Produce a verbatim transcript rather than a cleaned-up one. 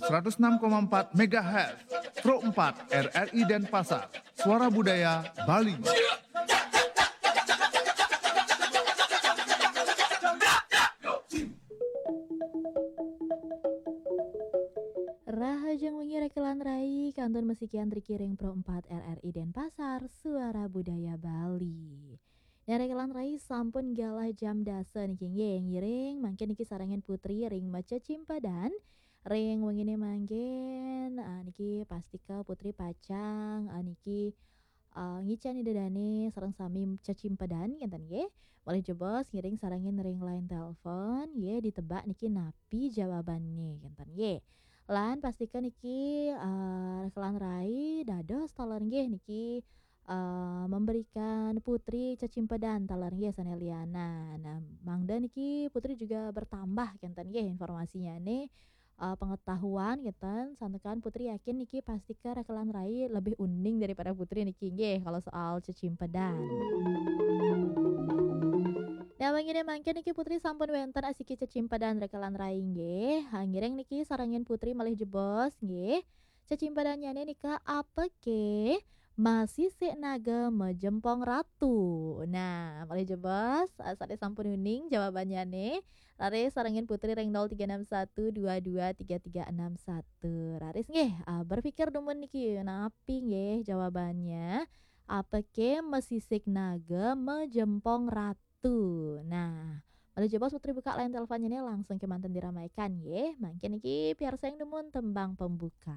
seratus enam koma empat megahertz, Pro empat R R I Denpasar, Suara Budaya Bali. Rahajeng wengi rekelan rai, kantun masikian driki ring Pro empat R R I Denpasar, Suara Budaya Bali. Nah, rekelan rai, sampun galah jam dasa niki nggih, ngiring mangkin niki sarengin Putri ring macecimpedan ring wengine mangkin. Ah, niki pastika Putri pacang, ah, niki ah, ngicen Ida dane sareng sami cecimpedan kenten nggih. Malih jebos ngiring sarengin ring line telepon nggih, ditebak niki napi jawabanne kenten nggih. Lan pastika niki, ah, rekelan rai dados taler nggih niki, ah, memberikan Putri cecimpedan taler nggih sane lianan. Nah, mangda niki Putri juga bertambah kenten nggih informasinyane, ah, pengetahuan kenten, santukan Putri yakin niki pastika rekelan rai lebih uning daripada Putri niki nggih kalau soal cecimpedan. Nah, wengine mangkin niki Putri sampun wenten asiki cecimpedan rekelan rai nggih. Ha, ngiring niki sarengin Putri malih jebos nggih. Cecimpedannyane nika apake masisik naga majempong ratu. Nah, malih jebos, ah, sane sampun uning jawabannyane. Raris sarengin Putri ring nol tiga enam satu dua dua tiga tiga enam satu. Raris nggih, ah, berpikir dumun niki napi nggih jawabannya. Apake masisik naga majempong ratu. Nah, malih jebos Putri buka line teleponnya nih, langsung kemanten diramaikan nggih. Mangkin niki piarsayang dumun tembang pembuka.